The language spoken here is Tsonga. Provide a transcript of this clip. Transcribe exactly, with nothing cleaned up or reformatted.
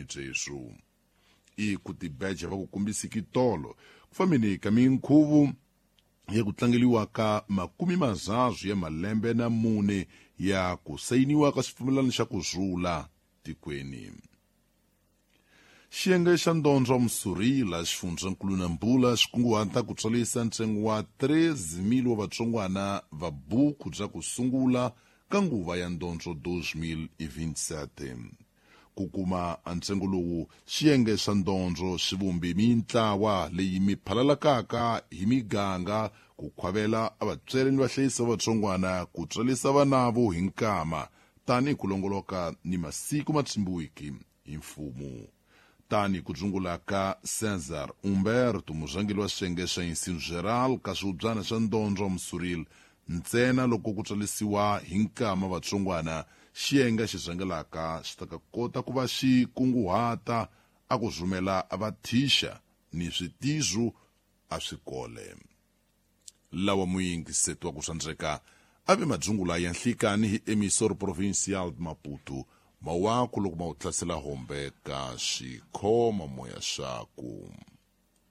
vutikweni byeswu. I ku tibeja va ku kombisiki tolo ku fambeni ka minkhuvo ya ku tlangeliwa ka makumi mazazu ya malembe na mune ya ku sayiniwa ka xipfumelano xa ku rhula tikweni. Xiyenge xa Ndondzo Msurila xifundzankulu na Mbula xi kunguhata ku tsarisa ntsengo wa treze mil wa vatsongwana va buku bya ku sungula ka nguva ya Ndondzo dois mil e vinte e sete. Ku kuma ntsengo lowu, xiyenge xa Ndondzo xi vumbe mintlawa leyi mi phalalakaka hi miganga ku khwavela vatswari ni vahlayisi va vatsongwana ku tsarisa vanavo hi nkama tanihi ku longoloka ni masiku ma tshimbiwiki hi mfumo. Tani ku dzungula ka César Humberto, murhangeri wa xiyenge xa Ensino Geral ka swihubyana xa Ndondzo Msuril, ntsena loko ku tsarisiwa hi nkama vatsongwana, xiyenge xi rhangelaka xi ta kota ku va xi kunguhata a ku rhumela vathisha ni switizu a swikole. Lawa muyingiseti wa ku tsandzeka a ve madzungula ya nhlikani hi Emissor Provincial de Maputo, mawaku loko ma wu hlasela hombe ka xikhoma moya xaku.